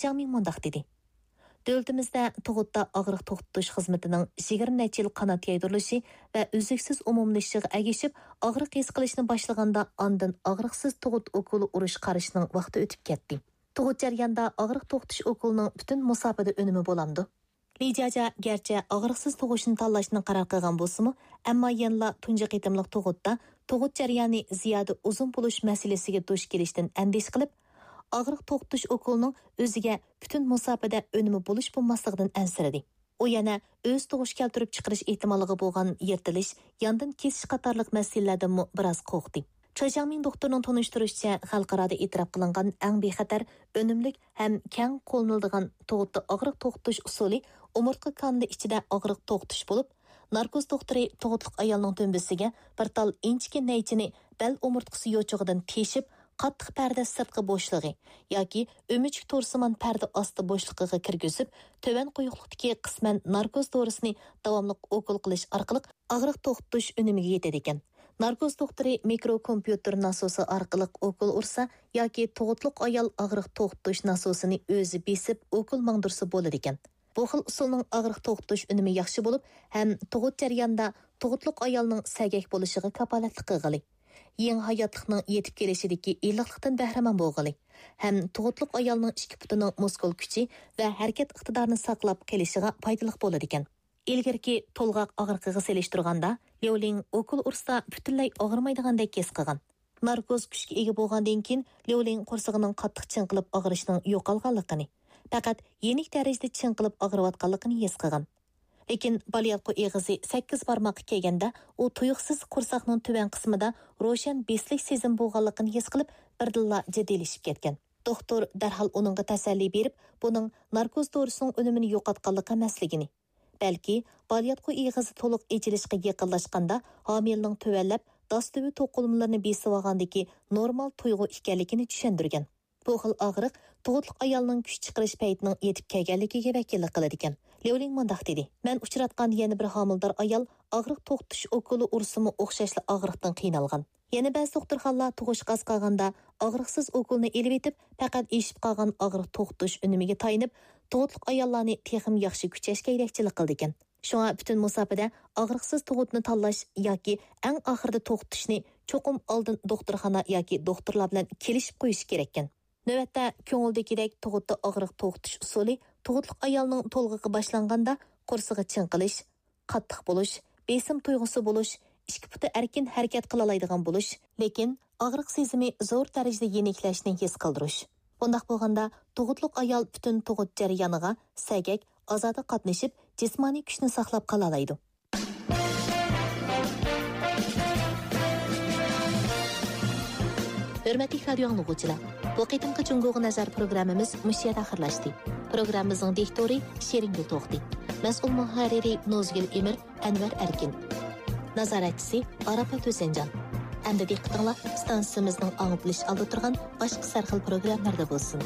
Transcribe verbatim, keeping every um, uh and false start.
جاڭ مىڭ مۇنداق دېدى: دۆلىتىمىزدە تۇغۇتتا ئاغرىق توختىتىش خىزمىتىنىڭ يىگىرمە نەچچە يىل قانات يايدۇرۇلۇشى ۋە ئۈزلۈكسىز ئومۇملىشىشىغا ئەگىشىپ، ئاغرىق ھېس قىلىشنى باشلىغاندا، ئاندىن ئاغرىقسىز تۇغۇت ئوكۇلى ئۇرۇش قارىشنىڭ ۋاقتى ئۆتۈپ كەتتى. تۇغۇت جەريانىدا ئاغرىق توختىتىش ئوكۇلىنىڭ پۈتۈن مۇساپىدە ئۈنۈمى بولامدۇ؟ لى جياجيا گەرچە ئاغرىقسىز تۇغۇشنى تاللاشنى قارار قىلغان بولسىمۇ، ئەمما يەنىلا تۇنجى قېتىملىق تۇغۇتتا تۇغۇت جەريانى زىيادە ئۇزۇن بولۇش مەسىلىسىگە دۇچ كېلىشتىن ئەندىشە قىلىپ، ئاغرىق توختىتىش ئوكۇلىنىڭ ئۆزىگە پۈتۈن مۇساپىدە ئۈنۈمى بولۇش بولماسلىقىدىن ئەنسىرىدى. ئۇ يەنە ئۆز تۇغۇش كەلتۈرۈپ چىقىرىش ئېھتىماللىقى بولغان يىرتىلىش، ياندىن كېسىش قاتارلىق مەسىلىلەردىنمۇ بىراز قورقتى. چاي جياڭمىڭ دوختۇرنىڭ تونۇشتۇرۇشىچە، خەلقئارادا ئېتىراپ قىلىنغان ئەڭ بىخەتەر، ئۈنۈملۈك ھەم كەڭ قوللىنىلىدىغان تۇغۇتتا ئاغرىق توختىتىش ئۇسۇلى ئومۇرتقا كانىلى ئىچىدە ئاغرىق توختىتىش بولۇپ، ناركوز دوختۇرى تۇغۇتلۇق ئايالنىڭ دۈمبىسىگە بىر تال ئىنچىكە نەيچىنى بەل ئومۇرتقىسى يوچۇقىدىن تېشىپ، قاتتىق پەردە سىرتقى بوشلۇقى ياكى ئۆمۈچۈك تورسىمان پەردە ئاستى بوشلۇقىغا كىرگۈزۈپ، تۆۋەن قويۇقلۇقتىكى قىسمەن ناركوز دورىسىنى داۋاملىق ئوكۇل قىلىش ئارقىلىق ئاغرىق توختىتىش ئۈنۈمىگە يېتىدىكەن. ناركوز دوختۇرى مىكروكومپيۇتېر ناسوسى ئارقىلىق ئوكۇل ئۇرسا ياكى تۇغۇتلۇق ئايال ئاغرىق توختىتىش ناسوسىنى ئۆزى بېسىپ ئوكۇل ماڭدۇرسا بولىدىكەن. بۇ خىل ئۇسۇلنىڭ ئاغرىق توختىتىش ئۈنۈمى ياخشى بولۇپ، ھەم تۇغۇت جەريانىدا تۇغۇتلۇق ئايالنىڭ سەگەك بولۇشىغا كاپالەتلىك قىلغىلى، يېڭى ھاياتلىقنىڭ يېتىپ كېلىشىدىكى ئىللىقلىقتىن بەھرىمەن بولغىلى، ھەم تۇغۇتلۇق ئايالنىڭ ئىككى پۇتىنىڭ مۇسكۇل كۈچى ۋە ھەرىكەت ئىقتىدارىنى ساقلاپ قېلىشىغا پايدىلىق بولىدىكەن. ئىلگىرىكى تولغاق ئاغرىقىغا سېلىشتۇرغاندا، ليۇلىڭ ئوكۇل ئۇرسا پۈتۈنلەي ئاغرىمايدىغاندەك ھېس قىلغان. ناركوز كۈچكە ئىگە بولغاندىن كېيىن، ليۇلىڭ قورسىقىنىڭ قاتتىق چىڭقىلىپ ئاغرىشىنىڭ يوقالغانلىقىنى، پەقەت يېنىك دەرىجىدە چىڭقىلىپ ئاغرىۋاتقانلىقىنى ھېس قىلغان. لېكىن بالىياتقۇ ئېغىزى سەككىز بارماققا كەلگەندە، ئۇ تۇيۇقسىز قورساقنىڭ تۆۋەن قىسمىدا روشەن بېسىلىش سېزىمى بولغانلىقىنى ھېس قىلىپ، بىردىنلا جىددىيلىشىپ كەتكەن. دوختۇر دەرھال ئۇنىڭغا تەسەللى بېرىپ، بۇنىڭ ناركوز دورىسىنىڭ ئۈنۈمىنى يوقاتقانلىقى ئەمەسلىكىنى، بەلكى بالىياتقۇ ئېغىزى تولۇق ئېچىلىشقا يېقىنلاشقاندا، ھامىلىنىڭ تۆۋەنلەپ، داس تۈۋى توقۇلمىلىرىنى بېسىۋالغاندىكى نورمال تۇيغۇ ئىكەنلىكىنى چۈشەندۈرگەن. بۇ خىل ئاغرىق تۇغۇتلۇق ئايالنىڭ كۈچ چىقىرىش پەيتىنىڭ يېتىپ كەلگەنلىكىگە ۋەكىللىك قىلىدىكەن. ليۇلىڭ مۇنداق دېدى: مەن ئۇچراتقان يەنە بىر ھامىلىدار ئايال ئاغرىق توختىتىش ئوكۇلى ئۇرسىمۇ ئوخشاشلا ئاغرىقتىن قىينالغان. يەنە بەزى دوختۇرخانىلار تۇغۇشقا ئاز قالغاندا ئاغرىقسىز ئوكۇلنى ئېلىۋېتىپ، پەقەت ئېشىپ قالغان ئاغرىق توختىتىش ئۈنۈمىگە تايىنىپ، تۇغۇتلۇق ئاياللارنى تېخىمۇ ياخشى كۈچەشكە يېتەكچىلىك قىلىدىكەن. شۇڭا پۈتۈن مۇساپىدە ئاغرىقسىز تۇغۇتنى تاللاش ياكى ئەڭ ئاخىرىدا توختىتىشنى چوقۇم ئالدىن دوختۇرخانا ياكى دوختۇرلار بىلەن كېلىشىپ قويۇش كېرەككەن. نۆۋەتتە، كۆڭۈلدىكىدەك تۇغۇتتا ئاغرىق توختىتىش ئۇسۇلى تۇغۇتلۇق ئايالنىڭ تولغىقى باشلانغاندا قورسىقى چىڭقىلىش، قاتتىق بولۇش، بېسىم تۇيغۇسى بولۇش، ئىككى پۇتى ئەركىن ھەرىكەت قىلالايدىغان بولۇش، لېكىن ئاغرىق سېزىمى زور دەرىجىدە يېنىكلەشنى ھېس قىلدۇرۇش. بۇنداق بولغاندا، تۇغۇتلۇق ئايال پۈتۈن تۇغۇت جەريانىغا سەگەك، ئازادە قاتنىشىپ، جىسمانىي كۈچنى ساقلاپ قالالايدۇ. ھۆرمەتلىك رادىيو ئاڭلىغۇچىلار، بۇ قېتىمقى جۇڭگوغا نەزەر پروگراممىمىز مۇشۇ يەردە ئاخىرلاشتى. پروگراممىمىزنىڭ دىكتورى شېرىنگۈل توختى، مەسئۇل مۇھەررىرى نۇزگۈل ئىمىر، ئەنۋەر ئەركىن، نازارەتچىسى ئاراپات ھۈسەنجان. ئەمدى دىققىتىڭلار ئىستانسىمىزنىڭ ئاڭلىتىلىش ئالدىدا تۇرغان باشقا سەرخىل پروگراممىلاردا بولسۇن.